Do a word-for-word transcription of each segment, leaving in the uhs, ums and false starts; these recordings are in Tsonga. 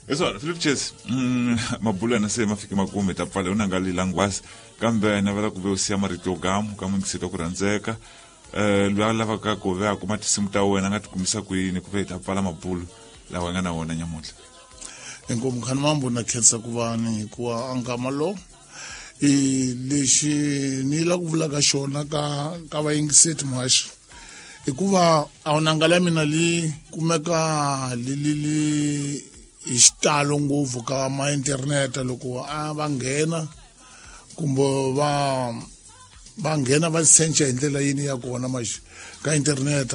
Leswona Philip Chase, mm, mabulo yana se ma fike makumu, hi ta pfala u nanga lilangwasi, kambe navela ku ve u siya marito yo gamu ka muyingiseti wa ku rhandzeka, um loyi a lavaka ku ve a kuma tinsimu ta wena a nga ti kumisa kwini, ku ve hi ta pfala mabulo lawa hi nga na wona nyamuntlha. Inkomu khani mambo, na khensa ku va ni hikuva a nkama lo i lexi ni la ku vulaka xona ka ka vayingiseti muhaxi, hikuva a wunanga la mina li kumeka li li li hi xitalo ngopfu ka ma internet. Loko a va nghena kumbe va va nghena va search hi ndlela yini ya kona maxi ka internet,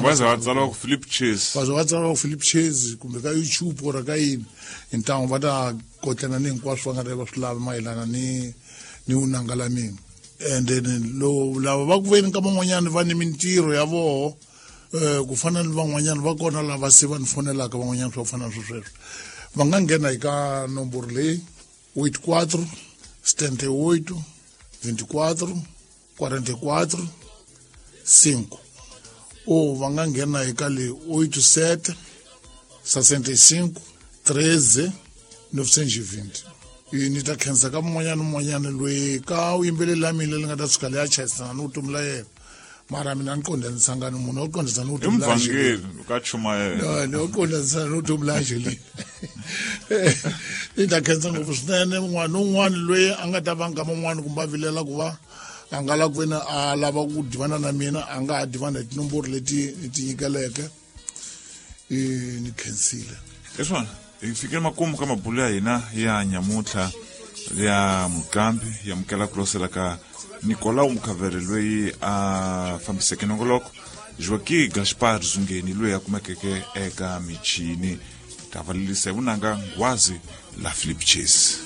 va za va tsala ku Philip Chase, va za va tsala ku Philip Chase kumbe ka YouTube or ka yini, hi ntangu va ta kotlana ni hinkwaswo va nga ta va swi lava mayelana ni ni vunanga la mina. And then lo lava va ku veni ka van'wanyana va ni mintirho ya voho, um ku fana ni van'wanyana va kona lava se va ni fonelaka van'wanyana swa ku fana na swo sweswo, va nga nghena hi ka nomboro leyi oito quatro setenta e oito vinte e quatro quarenta e quatro cinco, ou va nga nghena hi ka leyi oito sete sessenta e cinco treze novecentos e vinte. Ni ta khensa ka mun'wanyana ni mun'wanyana loyi ka vuyimbeleri la mina leri nga ta tshuka leyi a chayisana ni vutomi la yena, mara mina ni qondanisanga ni munhu wo qondisa ni i vutomi la muvhangeli ka chumayela. Ni wo qondanisana ni vutomi la Angeline. Ni ta khensa ngopfu swinene un'wana ni un'wana loyi a nga ta va nkama un'wana kumbe a vilela ku va a nga lava ku veni a lava ku divana na mina, a nga ha divana hi tinomboro leti ni ti nyikeleke. Ni khensile. Leswona hi fikile makumu ka mabulo ya hina ya nyamuntlha ya muqambi ya amukela ku losela ka Nicolau Mukhavere loyi a fambiseke nongoloko, Joaqui Gaspar Zungeni loyi a kumekeke eka michini. Ta valelisa hi vunanga nghwazi la Philip Chase.